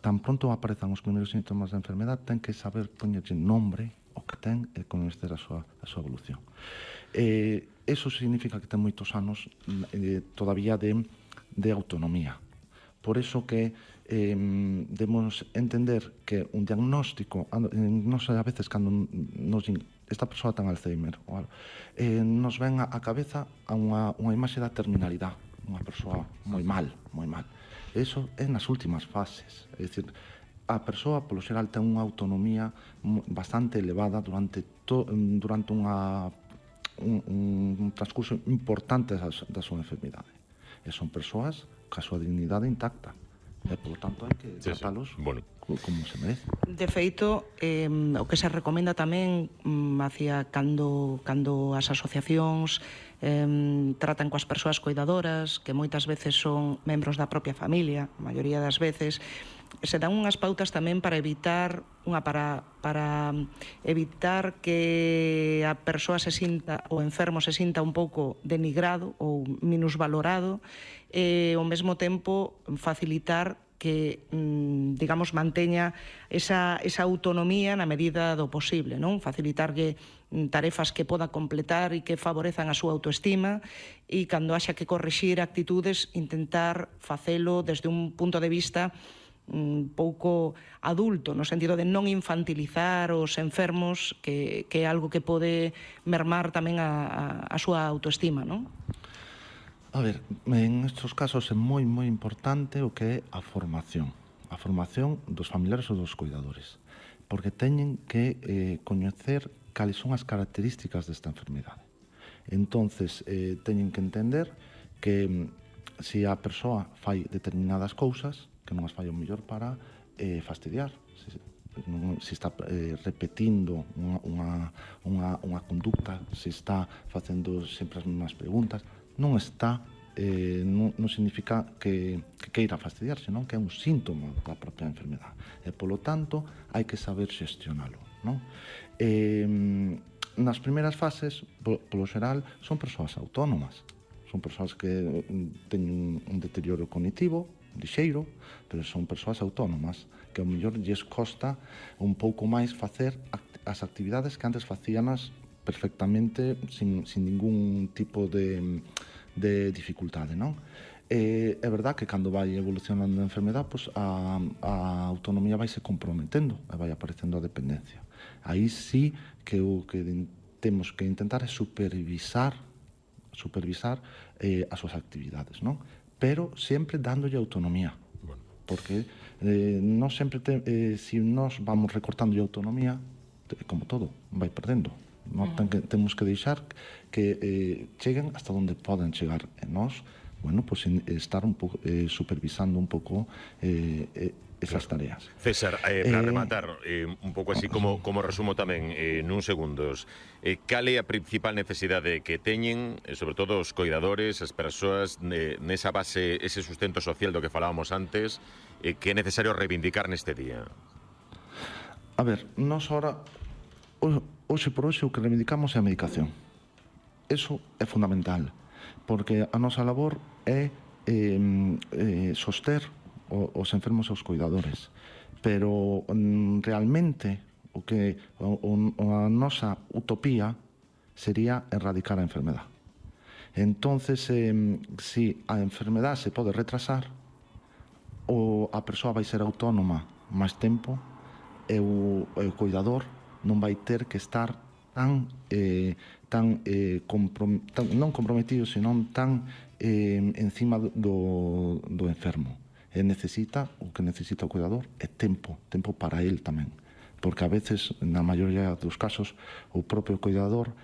tan pronto aparezan os primeiros síntomas da enfermedade, ten que saber poñerlle nombre o que ten e coñecer a súa evolución. Eso significa que ten moitos anos todavía de autonomía. Por eso que debemos entender que un diagnóstico, non sei, a veces cando nos din esta persoa ten Alzheimer, nos ven á cabeza unha imaxe da terminalidade, unha persoa moi mal, moi mal. Eso é nas últimas fases, é dicir, a persoa, polo xeral, ten unha autonomía bastante elevada durante un transcurso importante da súa enfermidade. E son persoas ca súa dignidade intacta. E, polo tanto, hai que tratalos como se merece. De feito, o que se recomenda tamén hacia cando as asociacións tratan coas persoas coidadoras, que moitas veces son membros da propia familia, a maioría das veces, se dan unhas pautas tamén para evitar evitar que a persoa se sinta, o enfermo se sinta un pouco denigrado ou minusvalorado, e ao mesmo tempo facilitar que, digamos, manteña esa autonomía na medida do posible, non? Facilitarlle tarefas que poda completar e que favorezan a súa autoestima, e cando haxa que corrixir actitudes, intentar facelo desde un punto de vista un pouco adulto, no sentido de non infantilizar os enfermos, que é algo que pode mermar tamén a súa autoestima, non? A ver, en estes casos é moi importante o que é a formación dos familiares ou dos cuidadores, porque teñen que coñecer cales son as características desta enfermidade. Entonces, teñen que entender que se a persoa fai determinadas cousas, que non as fai o mellor para fastidiar, se está repetindo unha conducta, se está facendo sempre as mesmas preguntas, non significa que queira fastidiar, senón que é un síntoma da propia enfermedade. E, polo tanto, hai que saber xestionalo, non? Nas primeiras fases, polo xeral, son persoas autónomas. Son persoas que teñen un deterioro cognitivo, lixeiro, pero son persoas autónomas, que ao mellor lles costa un pouco máis facer as actividades que antes facíanas perfectamente sin ningún tipo de dificultade, non? É verdad que cando vai evolucionando a enfermedade, a autonomía vai se comprometendo e vai aparecendo a dependencia. Aí sí que o que temos que intentar é supervisar as súas actividades, non? Pero sempre dándolle autonomía, porque non sempre, se nós vamos recortándolle autonomía, como todo, vai perdendo. Temos que deixar que cheguen hasta onde poden chegar, e nós, estar un pouco supervisando un pouco esas tareas. César, para rematar, un pouco así como resumo tamén nun segundos, cal é a principal necesidade que teñen, sobre todo os coidadores, as persoas nesa base, ese sustento social do que falábamos antes, que é necesario reivindicar neste día? A ver, nós ahora, hoxe por hoxe, o que reivindicamos é a medicación. Eso é fundamental, porque a nosa labor é soster os enfermos e os cuidadores, pero realmente a nosa utopía sería erradicar a enfermedade. Entonces, se a enfermedade se pode retrasar, a persoa vai ser autónoma máis tempo, e o cuidador non vai ter que estar non comprometido, senón tan encima do enfermo. O que necesita o cuidador é tempo para el tamén, porque a veces, na maioría dos casos, o propio cuidador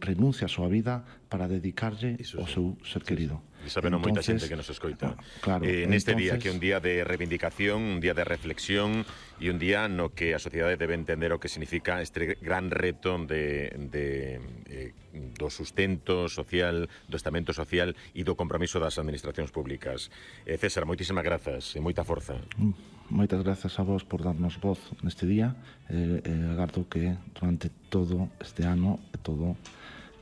renuncia a súa vida para dedicarlle ao seu ser querido. E sabendo moita xente que nos escoita. Neste día, que é un día de reivindicación, un día de reflexión, e un día no que a sociedade debe entender o que significa este gran reto do sustento social, do estamento social e do compromiso das administracións públicas. César, moitísimas grazas e moita forza. Moitas grazas a vos por darnos voz neste día, e agardo que durante todo este ano e todo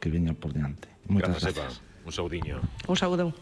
que veña por diante. Moitas grazas. Un saudiño. Un saúdo.